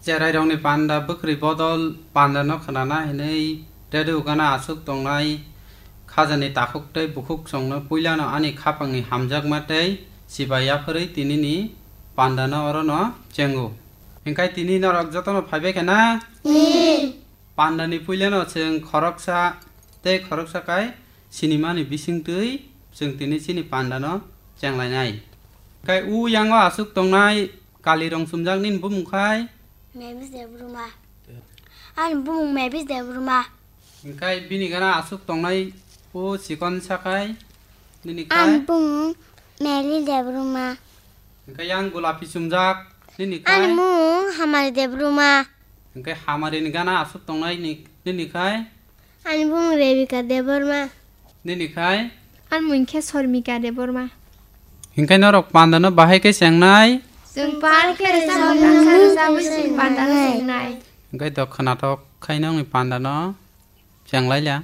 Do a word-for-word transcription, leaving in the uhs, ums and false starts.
Cherairokni panda bwkrwi bodol pandano khnana hinwi redo gana aswk tongnai khajani takhuk tei bukhuk chwngno puilano ani khapangni hamjakma tei chibai yaphwrwi tinini pandano orono chengo. Hinkhe tini norok jotono phaibai khe na? Pandani puilano chwng khoroksa tei khoroksa kai sinimani bisingtwi chwng tini chini pandano chenglainai. Hinkhe u yango aswk tongnai kali rong chumjak nini bumung khai? Mavis Debbarma. Ani bumung Mavis Debbarma. Hinkhe bini gana aswk tongnai o chikon sakai nini khai? Ani bumung Meli Debbarma. Hinkhe yang gulapi chumjak nini khai? Ani bumung Hamari Debbarma. Hinkhe Hamari ni gana aswk tongnai ni-, nini khai? Ani bumung Rebika Debbarma. Nini khai? Ani mung khe Sormika Debbarma. Hinkhe norok pandano bahai khe chengnai? Chwng pal khe rwchapmung tangsa rwchapwi chwng pandano chengnai. Hinkhe do khwnathok khai nongni pandano chenglaila.